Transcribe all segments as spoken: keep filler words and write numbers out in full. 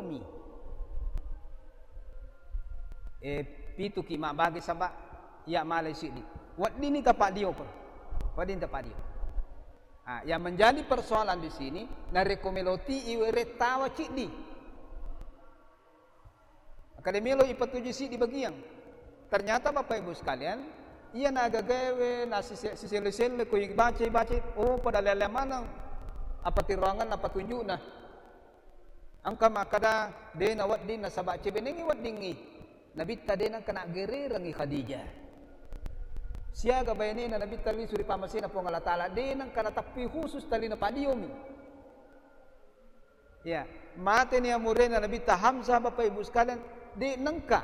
mi. Eh, pituki mabbage saba iya malai siddi. Weddinni tapaddio ko. Wedding tapaddio. Ah, yang menjadi persoalan di sini, narekko melo ti iwere tawa ciddi. Akkeda melo ipatuju siddi bagiang. Ternyata Bapak Ibu sekalian, iya nagagaewe na sise-, siselle-selle ko ibaca-ibaca, oh, pada lele maneng apa tiroangenna patunjukna. Engka makkeda, de nawedding nasaba cebenengngi weddingngi. Nabitta de nengka naggererengngi Khadijah. Siaga bainena Nabitta lisu ri pamasena Puang Allah Taala, de nengka natappi khusus tali napadiomi. Ya, mateni amurena Nabitta Hamzah, Bapak Ibu sekalian, de nengka,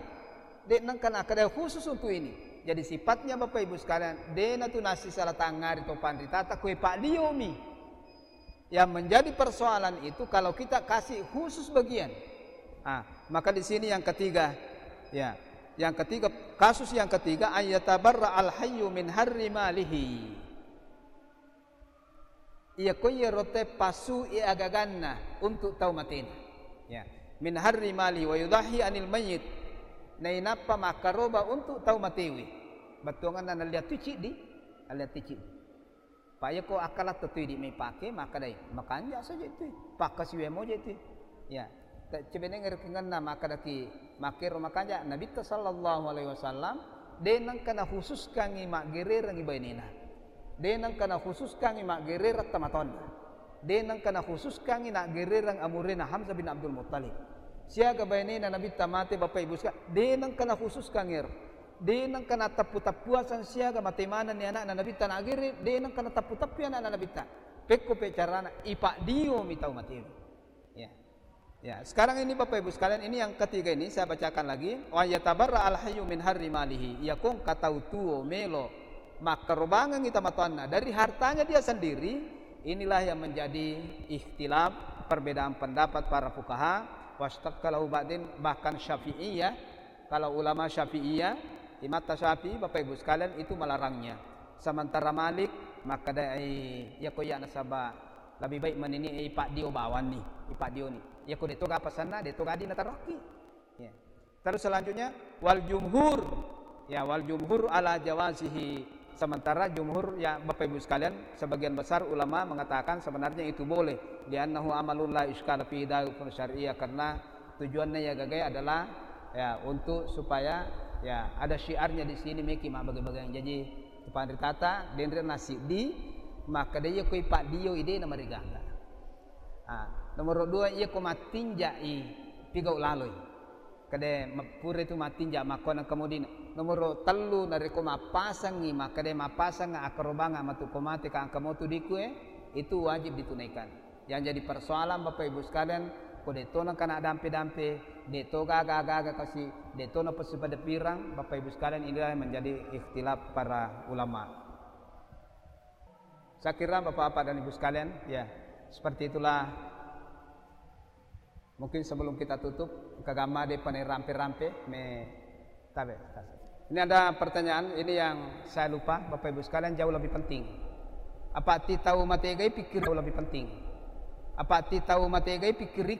de nengka nakkeda khusus untuk ini. Jadi sifatnya Bapak Ibu sekalian, de natu nasisala tangngari to panritata koe padiomi. Yang menjadi persoalan itu kalau kita kasih khusus bagian. Ah, maka di sini yang ketiga, ya, yang ketiga, kasus yang ketiga, ayyatabarra al-hayyu min harri malihi. Iya ko iyaro te pasui agaganna untuk tau matena. Ya. Min harri mali wa yudahi anil mayyit. Nainappa makkaroba untuk tau matewe. Bettuanganna nalliang tu ciddi, alliang tu ciddi. Pa iya ko akkalatta tu idi mai pake, makkadai, makanja saja itu. Pakkasiwe moja itu. Ya. Ta-, cebeneng rekengenna makkadaki makkero makanja, Nabitta sallallahu alaihi wasallam de nengka nakhususkangngi maggererengngi bainena. De nengka nakhususkangngi maggerereng tomatoanna. De nengka nakhususkangngi naggerereng amurena Hamzah bin Abdul Muttalib. Siaga bainena Nabitta mate, Bapak Ibu sekalian, de nengka nakhususkangngi ero. De nengka natappu-tappuasang siaga mate manenni anakna Nabitta naggere, de nengka natappu-tappui anakna Nabitta. Pekko pe carana, ipadiomi tau matewe. Ya. Ya, sekarang ini Bapak Ibu sekalian, ini yang ketiga ini saya bacakan lagi. Wa yatabarra al-hayyu min harri malihi. Iya ko engka tau tuo melo makkarobangengngi tomatoanna dari hartanya dia sendiri, inilah yang menjadi ikhtilaf, perbedaan pendapat para fukaha. Washtaqqa lahu ba'din, bahkan Syafi'iyah, kalau ulama Syafi'iyah, imatta Syafi'i, Bapak Ibu sekalian, itu melarangnya. Sementara Malik makkadai, iya ko iya nasaba lebih baik menini ipaddio bawanni, ipaddioni. Iya ko de to ga pasanna, de to ga dina taroki. Ya. Terus selanjutnya, wal jumhur. Ya, wal jumhur ala jawazihi. Sementara jumhur, ya, Bapak Ibu sekalian, sebagian besar ulama mengatakan sebenarnya itu boleh. Li'annahu amalun la iskala fi hukm syariah, karena tujuannya ya gagai adalah ya untuk supaya ya ada syiarnya di sini meki mabbage-bageng. Jadi panritata denre nasiddi, maka de iya ko ipaddio ide na marigaga. Ah, nomor dua, iya ko mattinjai pigau laloi. Kade ma-, pura itu mattinja makkona kemudina. Nomor tellu, narekko mappasangngi, makkade mappasang akkarobanga matu ko mate ka engka motu dikue, itu wajib ditunaikan. Yang jadi persoalan Bapak Ibu sekalian, ko de to nengka na dampe-dampe, de to gaga-gaga kasi, de to na pasi pada pirang, Bapak Ibu sekalian, inilah yang menjadi ikhtilaf para ulama. Saya kira Bapak-bapak dan Ibu sekalian, ya, seperti itulah. Mungkin sebelum kita tutup, kagamma de panai rampe-rampe, me tabe. Ini ada pertanyaan, ini yang saya lupa, Bapak Ibu sekalian, jauh lebih penting. Apa ti tau mategai pikir jauh lebih penting. Apa ti tau mategai pikir